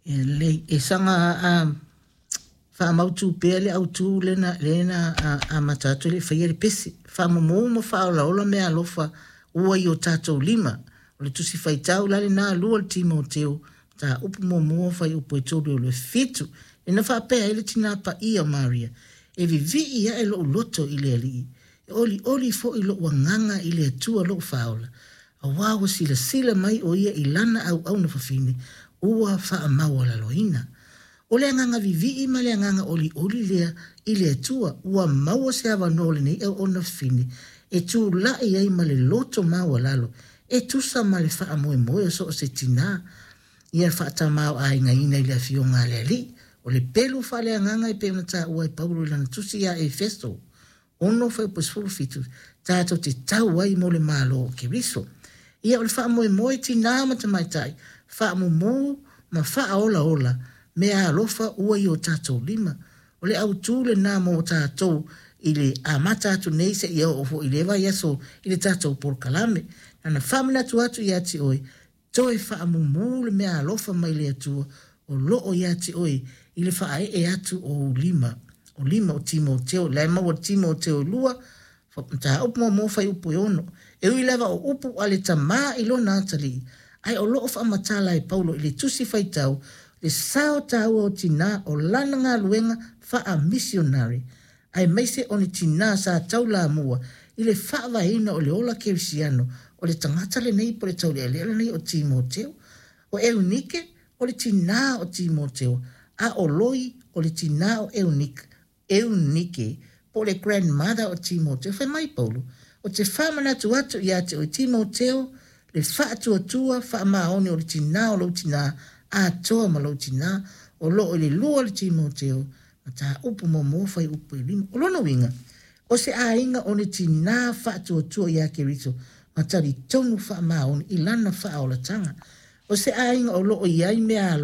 Ia lelei, e saga faamautu pea le autu lea na amata atu e le i faia le pese. Faamumu ma faaolaola meaalofa ua i o tatou lima. O le Tusi Faitau la lena 2 o le Timoteo, mataupu muamua fuaiupu e 3 e 27. Lea na faapea ai le Tina Paia o Maria, E vivii ae lou loto i le Alii, e olioli foi lou agaga i le Atua lou Faaola, aua ua silasila mai o ia i lana auauna fafine ua faamaualaloina. O le agaga vivii ma le agaga olioli lea i le Atua, ua maua se avanoa o lenei auauna fafine e tulai ai ma le loto maualalo e tusa ma le faamoemoe o so o se tinā ia faatamaoaigaina i le Afioga a le Alii. O le pelu faaleagaga e pei ona taua e Paulo i lana tusi ia Efeso 6 fuaiupu 17, tatou te tau ai mo le Malo o Keriso. Ia, o le faamoemoe tinā ma tamaitai, faamumu ma faaolaola meaalofa ua i o tatou lima. O le autu lena mo tatou i le amata atu nei seia oo foi i lea vaiaso i le tatou polokalame. Na ona faamanatu atu ia te oe, toe faamumu le meaalofa mai le Atua o loo ia te oe i le faaee atu o ou lima, o lima o Timoteo, la e maua i le Timoteo 2, mataupu muamua fuaiupu e 6. E ui lava o upu a le tamā i lona atalii, ae o loo faamatala e Paulo i le tusi faitau le sao taua o tinā o lana galuega faamisionare, aemaise o ni tinā sa taulamua i le faavaeina o le ola kerisiano o le tagata lenei po o le taulealea lenei o Timoteo. O Eunike o le tinā o Timoteo, a o Loi o le tinā o Eunike po o le grandmother o Timoteo. Fai mai Paulo, Ou te faamanatu atu ia te oe Timoteo le faatuatua faamaoni o le tinā o lou tinā atoa ma lou tinā, o loo i le 2 o le Timoteo, mataupu muamua fuaiupu e 5. O lona uiga, o se aiga o ni tinā faatuatua iā Keriso ma talitonu faamaoni i lana faaolataga. O se aiga o loo i ai meaalofa.